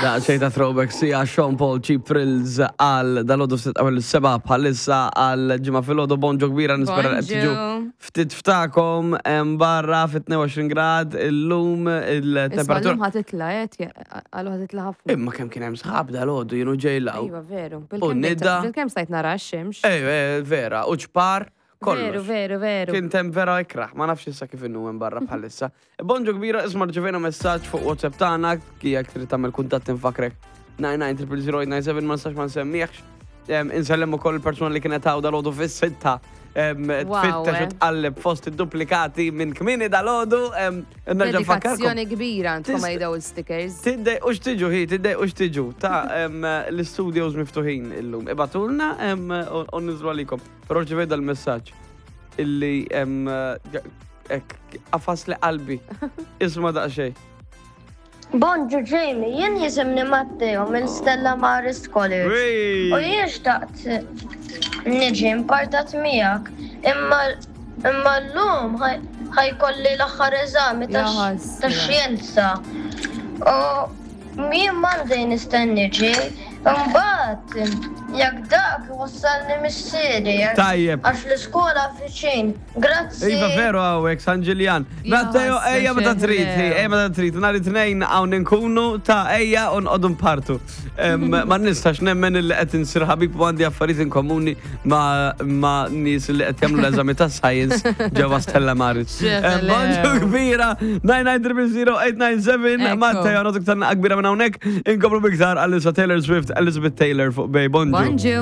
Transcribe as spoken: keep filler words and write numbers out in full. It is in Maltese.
Da xejn ta' throwback sija Sean Paul, Cheap Thrills għal dalgħodu ftit qabel is-sebgħa bħalissa għal Ġimgħa filgħodu. Bonġu kbira, nispera li qed tiġu Bonġu. ftit ftakom hemm barra fit tnejn u għoxrin grad illum Isma' il-temperatura. L-lum ħa titla', għalu ħa titla' ħafna. Imma kemm kien hemm sħab dalgħodu jienu ġejlaw. Iva, veru. U nida. Bil-kemm stajt nara x-xemx. Ej, vera, u ċpar Veru, kollox. veru, veru. Kien tem vera ikraħ, ma nafx issa kif inhu hemm barra bħalissa. Bonġu kbira, isma', rċevejna messaġġ fuq WhatsApp tagħna, jekk trid tagħmel kuntatt infakrek tnejn tnejn triple zero tnejn seba, ma nistax ma nsemmihx. Em, Insellem ukoll il-persuna li kienet hawn dalgħodu fis-sitta. em, Wow, Tfittex u eh. tqalleb fost id-duplikati minn kmieni dalgħodu. em, Nerġa' nfakkarkom. Dedikazzjoni kbira għandkom Tista- għal daw il-stickers. Tiddej, ux tiġu hi, tiddej ux tiġu. Ta' em, l-studios miftuħin illum. Ibagħtulna em, u u niżlu għalikom. Pero rċevejt dal-messaġġ illi em, ek, għafas li qalbi. Isma' daqsxejn. Bonġu Jamie, jien jisimni Matteo minn Stella Maris College. U jien xtaqt niġi impartat miegħek, imma imma llum ħa jkolli l-aħħar eżami Ja ħasra. tax-xjenza. U jien m'għandi nista' niġi, imbagħad jekk dak wassalni missieri. Tajjeb. Għax l-iskola viċin. Grazzi. Iva, veru hawnhekk, San Ġiljan. Ja, Matteo, ħasra ejja meta trid, xeħlew. hi, ejja meta trid. Nhar it-Tnejn hawn inkunu ta' ejja u nqogħdu npartu. Em, Ma nistax nemmen illi qed insir ħabib u għandi affarijiet in komuni ma' ma' nies li qed jagħmlu l-eżami ta' science ġewwa Stella Maris. Em, Xeħlew. Bonġu kbira, tnejn tnejn triple zero tnejn seba. Ekku. Matteo, nagħtuk tgħanniqa kbira minn hawnhekk. Inkomplu biktar għalissa Taylor Swift, Elizabeth Taylor fuq Bay. Bonġu. Bonġu.